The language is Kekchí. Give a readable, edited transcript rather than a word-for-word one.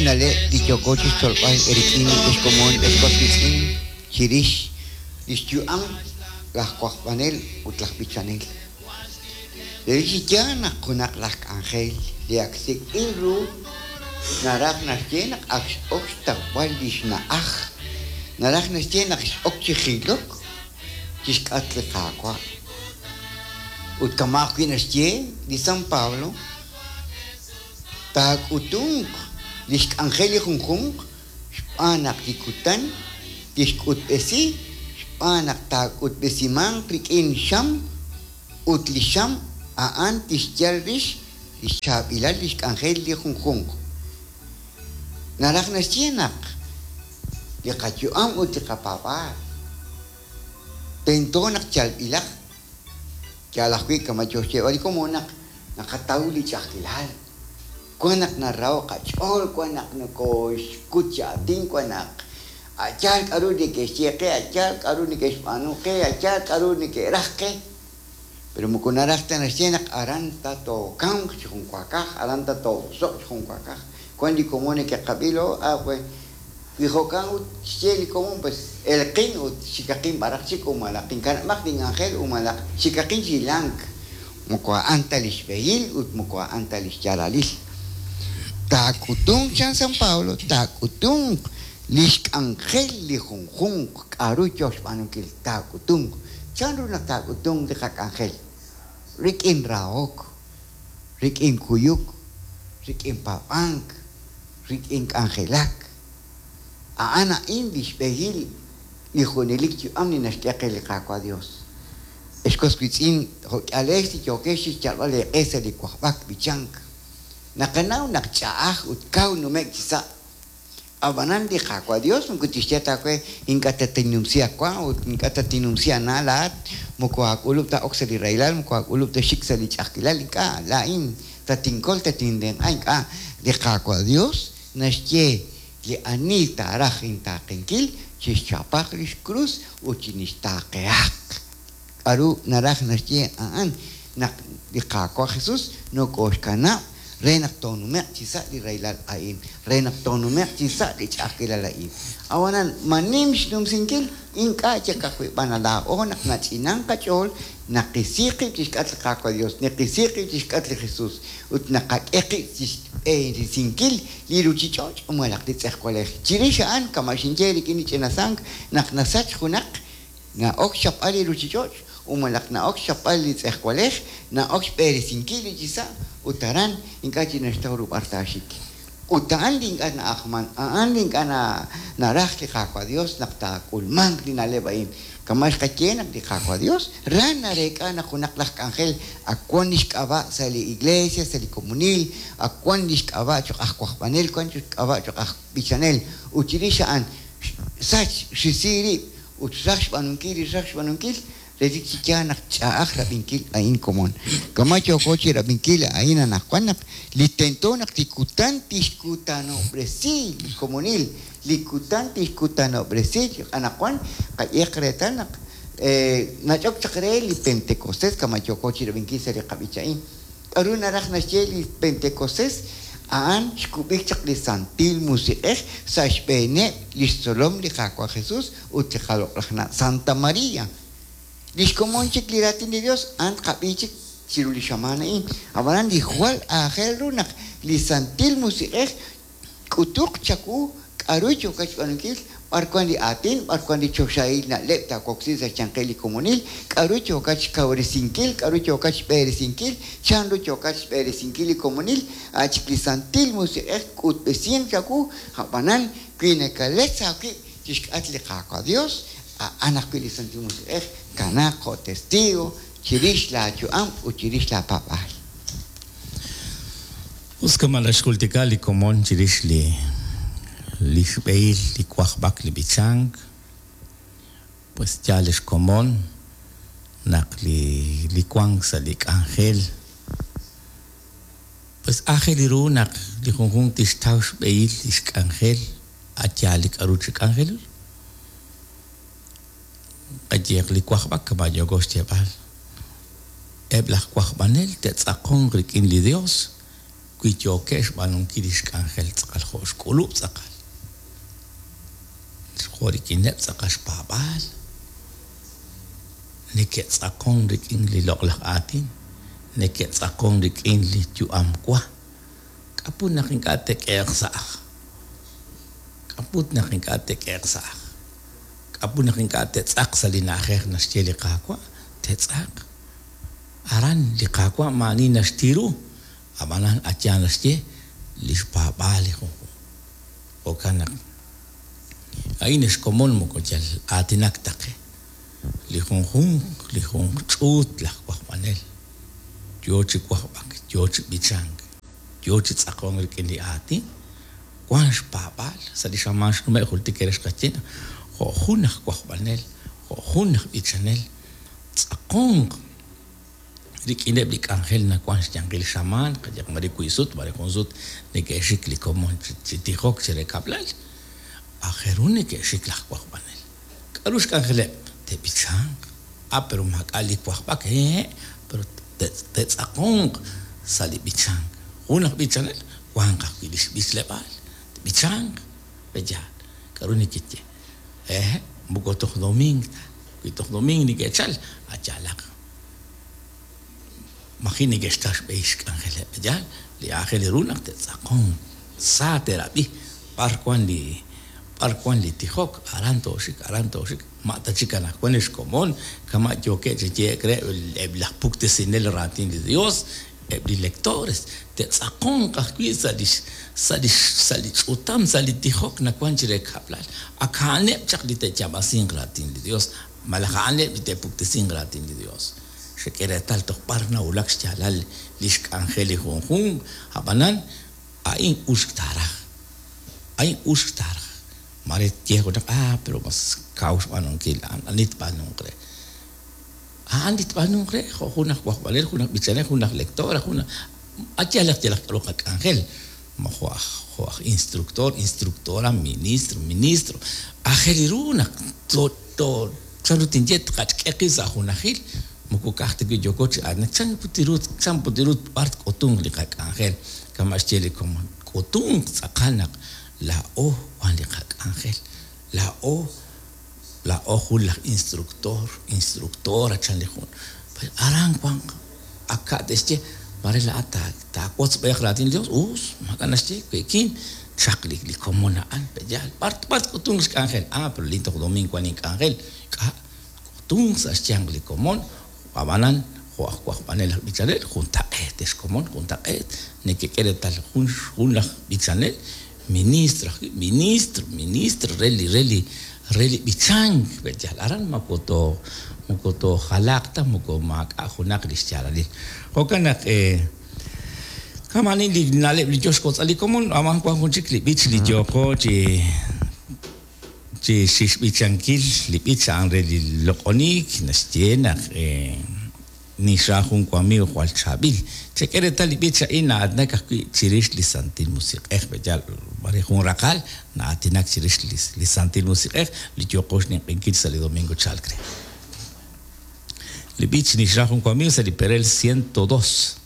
na'leb' li yooko chixtzolb'al eerik'in ex komon ex was wiitz'in chirix lix yu'am laj wajb'anel ut laj b'ichanel. Relik chi yaal naq junaq laj k'anjel li ak sik'b'il ru naraj naxye naq ak x'ok xtawb'al lix na'aj, naraj naxye naq x'ok chi jilok chixk'atq li Qaawa'. Ut kama' ajwi' naxye li San Pablo, Taak'utunq li xk'anjel li junjunq xb'aan naq li kutan tixk'utb'esi xb'aan naq taak'utb'esimanq rik'in xam ut li xam a'an tixyal rix li xchaab'ilal li xk'anjel li junjunq. Naraj naxye naq li qayu'am ut li qapaab'aal tento naq yalb'ilaq. Yaal ajwi' kama' yoo xyeeb'al li komon naq naqataw li ch'a'ajkilal. Wan naq naraho' qach'ool, wan naq nokooxkut chi aatin, wan naq a' yaal k'a'ru neke'xye qe, a' yaal k'a'ru neke'xb'aanu qe, a' yaal k'a'ru neke'raj qe. Pero moko naraj ta naxye naq aran ta tookamq chi junwaakaj, aran ta too'oso'q chi junwaakaj. Wan li komon neke'qab'i lo, ah, we, wi jo'kan ut xye li komon, pues elqin ut xikaqin b'araq chik u malaq inkanab'aq link'anjel u malaq xikaqin chi hilank. Moko a'an ta li xb'ehil ut moko a'an ta li xyaalalil. Taak'utunq, chan San Pablo, taak'utunq li xk'anjel li junjunq k'a'ru yoo xb'aanunkil. Taak'utunq. Chan ru naq taak'utunq li qak'anjel? Rik'in rahok, rik'in kuyuk, rik'in paab'ank, rik'in k'anjelak. A'an a'in li xb'ehil li junelik yu'am li naxk'e qe li Qaawa' Dios. Ex was wiitz'in, jo' k'ihalex li yookex chixyalb'al eeq'e sa' li wajb'ak b'ichank, naqanaw naq ch'a'aj ut kaw nume'k chi sa'. Ab'anan li Qaawa' Dios moko tixye ta aawe, Ink'a' tatinnumsi aawa ut ink'a' tatinnumsi aana' laa'at, moko aak'ulub' ta ok sa' li rahilal, moko aak'ulub' ta xik sa' li ch'a'ajkilal, ink'a', laa'in tatinkol, tatintenq'a, ink'a'. Li Qaawa' Dios naxye, Li ani taaraj intaaqenkil, chixchapaq lix krus ut chinixtaaqehaq. K'a'ru naraj naxye a'an? Naq li Qaawa' Jesus nokooxkanab' re naq toonume'q chi sa' li rahilal a'in, re naq toonume'q chi sa' li ch'a'ajkilal a'in. Ab'anan, ma nim xnumsinkil? Ink'a' chik ajwi' b'an laa'o naq nach'inank qach'ool, naqisi qib' chixk'atq li Qaawa' Dios, naqisi qib' chixk'atq li Jesus, ut naqak'e qib' chixb'eresinkil li ruchich'och' malaj li tz'ejwalej. Chirix a'an, kama' xinye rik'in li ch'ina sank, naq nasach junaq, Na'ok xchapb'al li ruchich'och' ut malaj na'ok xchapb'al li tz'ejwalej, na'ok xb'eresinkil li chi sa' ut aran ink'a' chik naxtaw ru b'ar taaxik. Ut a'an li ink'a' na'ajman, a'an li ink'a' naraj li Qaawa' Dios naq taak'ulmanq li na'leb' a'in. Kama' xqaye naq li Qaawa' Dios ra nareek'a naq junaq laj k'anjel ak wan lix k'ab'a' sa' li iglesia, sa' li komonil, ak wan lix k'ab'a' choq' aj wajb'anel, wan lix k'ab'a' choq' aj b'ichanel, ut chirix a'an xsach, xrisi rib' Ut xraj xb'aanunkil li xraj xb'aanunkil, relik chi yaal naq ch'a'aj rab'inkil a'in komon. Kama' yooko chi rab'inkil a'in anaqwan naq li tento naq li kutan tixkutanob'resi li komonil, li kutan tixkutanob'resi anaqwan qayehaq reetal naq nach'ok chaq re li Pentecostés kama' yooko chi rab'inkil sa' li qab'ich a'in. K'aru naraj naxye li Pentecostés? A'an xkub'ik chaq li Santil Musiq'ej sa' xb'eeneb' li xtzolom li Qaawa' Jesus ut li qaloq'laj na' Santa Maria. Li xkomon chik li Raatin li Yos a'an tqab'i chik chiru li xamaan a'in. Ab'anan li jwal aajel ru naq li Santil Musiq'ej K'utuq chawu k'a'ru yookat xb'aanunkil, b'ar wan li aatin, b'ar wan li choxahil na'leb' taawoksi sa' xyanqil li komonil, k'a'ru yookat xkawresinkil, k'a'ru yookat xb'eresinkil, chan ru yookat xb'eresinkil li komonil, a' chik li Santil Musiq'ej k'utb'esinq chawu, a'b'anan wi nakaletz aawib' chixk'atq li Qaawa' Dios, a'an ajwi' li Santil Musiq'ej kanaaq jo' testigo chirix laa yu'am ut chirix laa paab'aal. Us kama' naxjultika li komon chirix li li xb'ehil li wajb'ak li b'ichank, pues yaal li xkomon naq li li wank sa' li k'anjel pues aajel ru naq li junjunq tixtaw xb'ehil li xk'anjel a' yaal li k'a'ru chi k'anjelil. Qayehaq li wajb'ak kama' yooko xyeeb'al. Eb' laj wajb'anel te'tz'aqonq rik'in li Dios. Wi yookeb' xb'aanunkil li xk'anjel tz'aqal jo' xk'ulub' tz'aqal, jo' rik'ineb' tz'aqal xpaab'aal, neke'tz'aqon rik'in li loq'laj aatin, neke'tz'aqon rik'in li yu'am wa, k'a' put naq ink'a' te'k'ehe'q sa' ajl? K'a' put naq ink'a' te'k'ehe'q sa' ajl? K'a' put naq ink'a' te'tz'aq sa' li na'ajej naxye li Qaawa'? Te'tz'aq. Aran li Qaawa' maa'ani naxti ru, ab'anan a yaal naxye li xpaab'aal li junjunq. Jo'kan naq a'in ex komon moko yal aatinak ta qe. Li junjunq, li junq ch'uut laj wajb'anel yoo chi wajb'ak, yoo chi b'ichank, yoo chi tz'aqonk rik'in li aatin, wan xpaab'aal. Sa' li xamaan xnume' jultik eere xqaye naq jo' jun aj wajb'anel, jo' jun aj b'ichanel, Tz'aqonq rik'ineb' li k'anjel nawank xyanqil xamaan, qayehaq mare wiib' sut, mare jun sut neke'xik li komon chi tijok chire kab'lal. Aajel ru neke'xik laj wajb'anel. K'a'ru xk'anjeleb'? Te'b'ichanq. Ah, pero maak'a' li wajb'ak. Hehe', pero te'tz'aqonq sa' li b'ichank. Jun aj b'ichanel wanq ajwi' lix b'ichleb'aal. Tb'ichanq. Pe'yaal? K'a'ru nekeye? Hehe', moko toj domiing ta. Wi toj domiing neke'chal, a yaalaq. Maji' neke'xtaw xb'ehil xk'anjeleb'. Yaal, li aajel ru naq te'tz'aqonq, sa te'rab'i b'ar wan li b'ar wan li tijok, aran tooxik, aran tooxik, ma' ta chik anaqwan li xkomon, kama' yookeb' chi yehe'k re eb' laj puktesinel raatin li Dios, Eb' li lectores te'tz'aqonq ajwi' sa' lix sa' lix sa' li ch'utam, sa' li tijok nawan chire kab'lal. Ak a'aneb' chaq li te'yaab'asinq raatin li Dios, malaj a'aneb' li te'puktesinq raatin li Dios. Xek'e reetal toj b'ar nawulak xyaalal lix k'anjel li junjunq, a'b'anan, a'in uxk taaraj. A'in uxk taaraj. Maare tye junaq, Ah, pero mas kaw xb'aanunkil a'an, ani tb'aanunq re? A'an li tb'aanunq re, jo' jun aj wajb'anel, jun aj b'ichanel, jun aj lector, jun aj yalaq yalaq k'a'ru qak'anjel, ma jo' aj jo' aj instructor, instructora, ministro, ministro. Aajel ru naq to to chan ru tinye tqach'k'e qib' sa' junajil, moko ka'aj ta wi' yooko chi aatinak, chan put ru chan put ru b'ar tk'utunq li qak'anjel, kama' xye li komon, tk'utunq tz'aqal naq laa'o wan li qak'anjel, laa'o Laa'o jun laj instructor, instructora, chan li jun. Aran wanq. Ak ka' te'xye, Mare laa'at taawotz b'ayaq raatin li Dios. Us, maak'a' naxye, we'kin. Chaq li li komon a'an, pe'yaal? B'ar b'ar tk'utunq xk'anjel? Ah, pero lin toj domiing wan ink'anjel. K'a' tk'utunq sa' xyanq li komon. Ab'anan, jo' aj wajb'anel aj b'ichanel, juntaq'eet ex komon, juntaq'eet. Nekek'e reetal jun jun laj b'ichanel, ministro ajwi', ministro, ministro re li re li re li b'ichank, pe'yaal? Aran moko too moko toojalaaq ta, moko maak'a' junaq li xyaalalil. Jo'kan naq kama'anin li na'leb' li yoo xwotz'al li komon, ab'an wan jun chik li b'ich li yooqo chi Chi xb'ichankil li b'ich a'an re li loq'oniik naxye naq ninxra jun wamiiw jwal chaab'il. Chek'e reetal li b'ich a'in na'aatinak ajwi' chirix li Santil Musiq'ej. Pe'yaal mare jun raqal na'aatinak chirix li Santil Musiq'ej li yooqo xninq'ehinkil sa' li domingo chalk re. Li b'ich Ninxra jun wamiiw sa' li perel 102.